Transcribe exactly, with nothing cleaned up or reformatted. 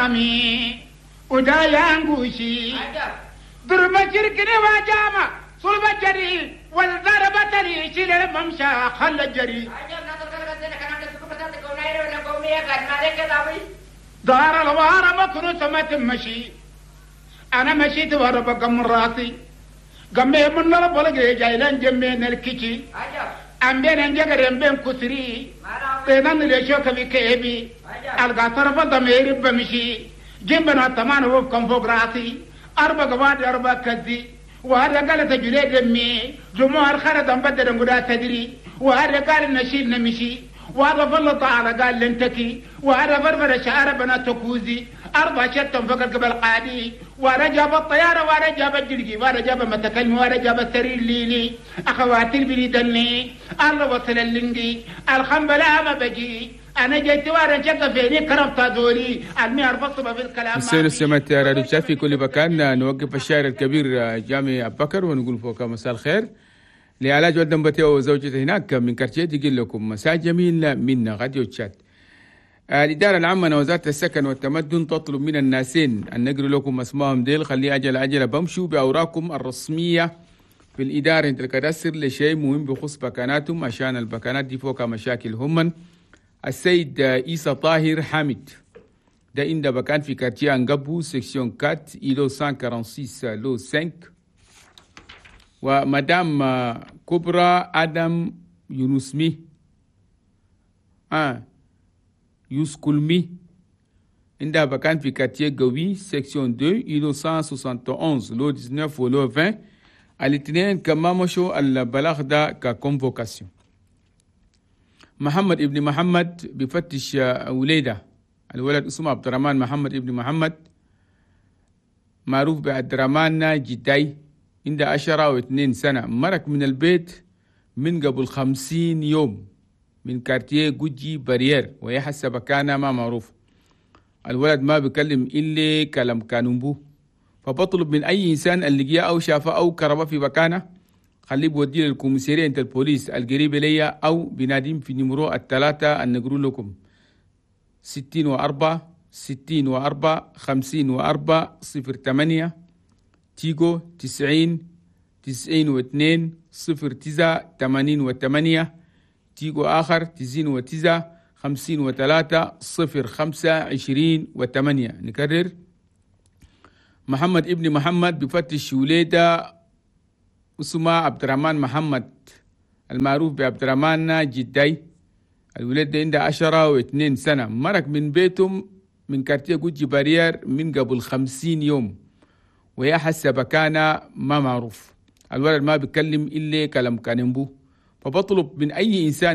رامي ودا يانغوشي درب شركني وجامع صلب جري والضربة تري شيل الممشى خل الجري دار الوارة مكروسة ما تمشي أنا مشيت ورا بقم راسي قمي من البلغي جايلان جمين الكيشي أمبين أنجر أمبين كسري تنان ليشوك بكيبي القاطر فضمير بمشي جنبنا تمان وفكم فوق راسي أربع قواد أربع كذي وهذا قال تجري دمي جمهور خرج بدل نقول تدري وهذا قال نشيل نمشي وهذا فلط على قال لنتكي وهذا فرفر شعر بنا تكوزي أربع شتم فقط قبل قادي وأنا جاب الطيارة وأنا جاب الجلقي وأنا جاب متكلم وأنا جاب السرير ليلي أخواتي البريدني الله وصل اللنقي الخنبلة ما بجي أنا جيت وأنا شق فيني كربت دوري المي أربص في الكلام. السيد سمعت راديو تشاد في كل مكان. نوقف الشاعر الكبير جامي أبو بكر ونقول فوق مساء الخير لعلاج ولد بتيو وزوجته هناك من كارتيه. يقول لكم مساء جميل من راديو تشاد. الإدارة العامة وزارة السكن والتمدن تطلب من الناسين أن نقرأ لكم أسمائهم ديل، خلي أجل أجل بمشوا بأوراقكم الرسمية في الإدارة انت الكداسر لشيء مهم بخص بكاناتهم عشان البكانات دي فوق مشاكل هم. السيد إيسا طاهر حامد ده عند بكان في quartier أنقبو section أربعة îlot مية وستة وأربعين lot خمسة. ومدام كبرى آدم يونسمي آه يوسكولمي عندها بكان في quartier قوي section اثنين îlot مية وواحد وستين lot تسعة عشر و lot عشرين. الاثنين كما مشوا البلاغ ده ك convocation. محمد ابن محمد بفتش وليدة، الولد اسمه عبد الرحمن محمد ابن محمد معروف بعبد الرحمن جداي، عنده عشرة واثنين سنة، مرق من البيت من قبل خمسين يوم من quartier جوجي Barrière ويحسب كان ما معروف. الولد ما بيكلم إلا كلام كانومبو، فبطلب من أي إنسان اللي جاء أو شافه أو كربه في مكانه خليه بوديه لل commissariat انت البوليس القريب ليا أو بناديم في numéro الثلاثة النقرو لكم ستين وأربعة ستين وأربعة خمسين وأربعة صفر ثمانية تيجو تسعين تسعين واثنين صفر تسعة ثمانين وثمانية تيجو آخر تسعين وتسعة خمسين وثلاثة صفر خمسة عشرين وثمانية. نكرر محمد ابن محمد بفتش وليدة اسمه عبد الرحمن محمد المعروف بعبد الرحمن جداي، الولد ده عنده عشرة واثنين سنة، مرق من بيتهم من quartier جوجي Barrière من قبل خمسين يوم ويا حسب كان ما معروف. الولد ما بيتكلم إلا كلام كانبو، فبطلب من أي إنسان